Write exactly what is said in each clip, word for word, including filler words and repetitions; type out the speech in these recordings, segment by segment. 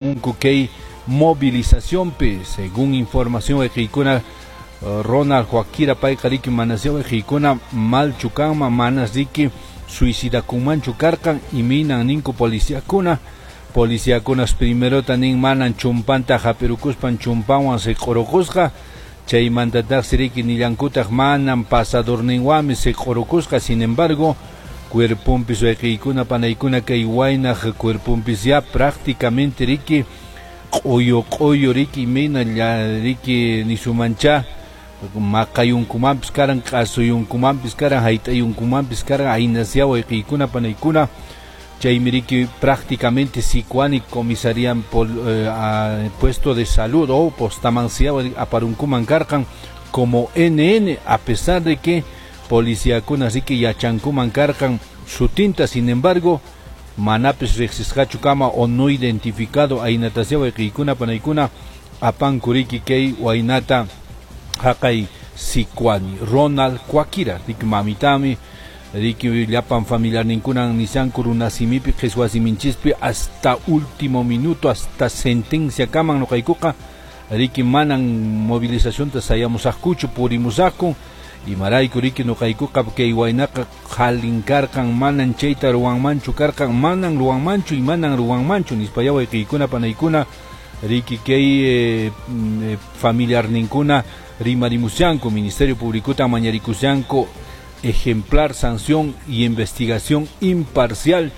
Kay movilizacionpi, según información wayqiykuna, Ronald Coaquira payqa riki manasya wayqiykuna malchu kanman, manas riki suicidakunmanchu karqan, imaynan ninku policiakuna. Policiakunas primerota nin manan chumpanta hap'irukuspan chumpanwan siq'urukusqa, chaymantataqsi riki nillankutaq manan pasadorninwanmi siq'urukusqa. Sin embargo, cuerponpis wayqiykuna panaykuna kay waynaq cuerponpis ya prácticamente riki q'uyu q'uyu riki imayna riki nisumancha maqayunkumanpis karan, q'asuyunkumanpis karan, hayt'ayunkumanpis karan, aynasya wayqiykuna panaykuna. Chaymi riki prácticamente Sicuani comisaría pol, eh, a, puesto de salud o postamancia aparunkuman karqan como N N, a pesar de que policíakuna riki yachankuman karqan sutinta, sin embargo manapis riqsisqachu kama o no identificado aynatasya wayqiykuna panaykuna apanku riki kay waynata haqay Sicuani. Ronald Coaquira riki mamitami riki llapan familiarninkunan nishanku runasimipi qhichwasiminchispi hasta último minuto, hasta sentencia kaman nuqaykuqa riki manan movilizacionta sayamusaqkuchu purimusaqku, imarayku riki nuqaykuqa kay waynaqa qhalin karqan, manan chayta ruwanmanchu karqan, manan ruwanmanchu y manan ruwanmanchu nispaya wayqiykuna panaykuna riki kay eh, familiarninkuna rimarimushanku, Ministerio Público mañarikushanku ejemplar sanción y investigación imparcial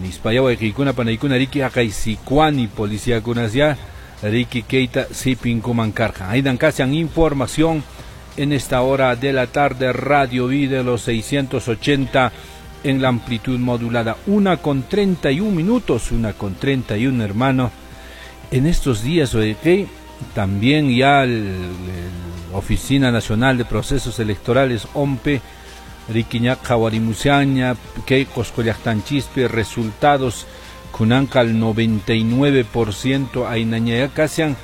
nispaya wayqiykuna panaykuna riki haqay Sicuani policiakunas ya riki keita sipinkuman karqan. Aydan kasian información en esta hora de la tarde, Radio Vida de los seiscientos ochenta en la amplitud modulada. Una con treinta y un minutos, una con treinta y un, hermano. En estos días, oye, también ya el, el Oficina Nacional de Procesos Electorales, O N P E, rikiña qhawarimushaña, kay Qosqo llaqtanchispi resultados kunanqa al noventa y nueve por ciento aynañaya kasian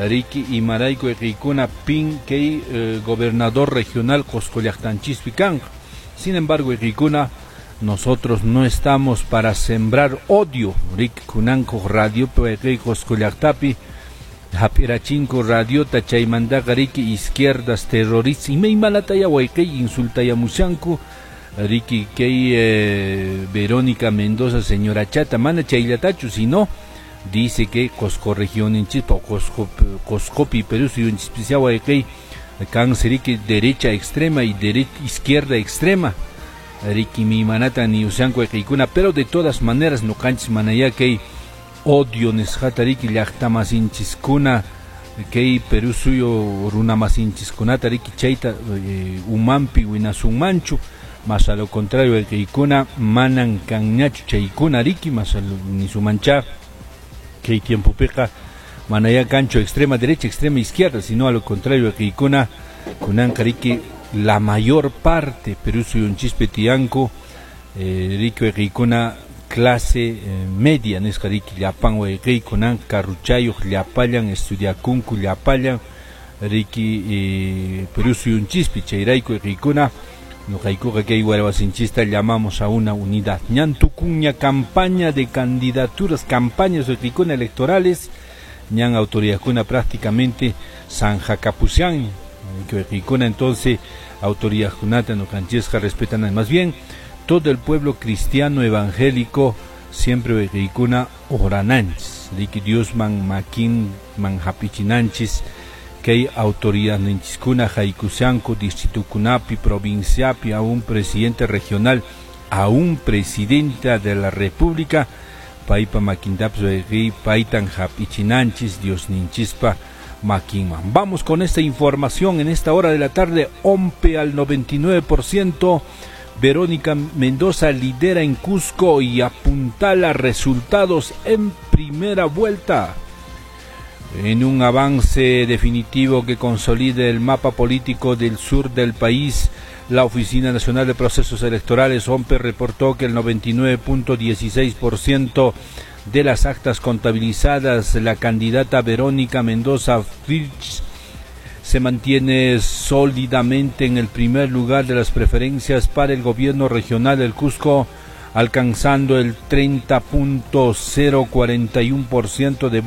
riki imarayku iqikuna pin kay eh, gobernador regional Qosqo llaqtanchispi kanqa. Sin embargo, iqikuna, nosotros no estamos para sembrar odio. Riki kunanku radio kay Qosqo llaqtapi hap'irachinku radiota chaymantaqa riki izquierdas terroristas imaymanataya wayqay insultayamushanku riki kay eh, Verónica Mendoza señora chata, mana chayllatachu, sino dice que Qosqo regioninchispa o Qosqo, Qosqopi Perú suyunchispisya wayqay kan riki derecha extrema y derecha izquierda extrema riki mimanata niushanku wayqiykuna, pero de todas maneras nuqanchis manaya kay odio nisqata riki llaqtamasinchiskuna kay Perú suyo runamasinchis-kunata riki chayta eh, umanpi winasunmanchu, más a lo contrario wayqiykuna manan kanñachu chaykuna riki más a lo nisumancha kay tiempopiqa manaya kanchu extrema derecha, extrema izquierda, sino a lo contrario wayqiykuna kunanqa riki la mayor parte Perú suyunchispi tiyanku eh, riki wayqiykuna clase eh, media nisqa riki llapan wayqi kunan karruchayuq llapallan estudiakunku llapallan riki eh, Perú suyunchispi chayrayku wayqiykuna nuqaykuqa kay wayrawasinchista llamamos a una unidad. Ñan tukuña campaña de candidaturas, campañas wayqiykuna electorales, ñan autoridadkuna prácticamente zanjakapusian wayqiykuna, entonces autoridadkunata nuqanchisqa respetan más bien todo el pueblo cristiano evangélico siempre wayqiykuna orananchis riki Dios man makin man hapichinanchis kay autoridad ninchiskuna haykushanku distritukunapi provinciapi a un presidente regional, a un presidenta de la república paypa makintapis wayqiy paytan hapichinanchis Dios ninchispa makinman. Vamos con esta información en esta hora de la tarde. O N P E al noventa y nueve por ciento. Verónica Mendoza lidera en Cusco y apuntala resultados en primera vuelta. En un avance definitivo que consolide el mapa político del sur del país, la Oficina Nacional de Procesos Electorales, O N P E, reportó que el noventa y nueve punto dieciséis por ciento de las actas contabilizadas, la candidata Verónica Mendoza Vilches se mantiene sólidamente en el primer lugar de las preferencias para el gobierno regional del Cusco, alcanzando el treinta punto cero cuarenta y uno por ciento de votos.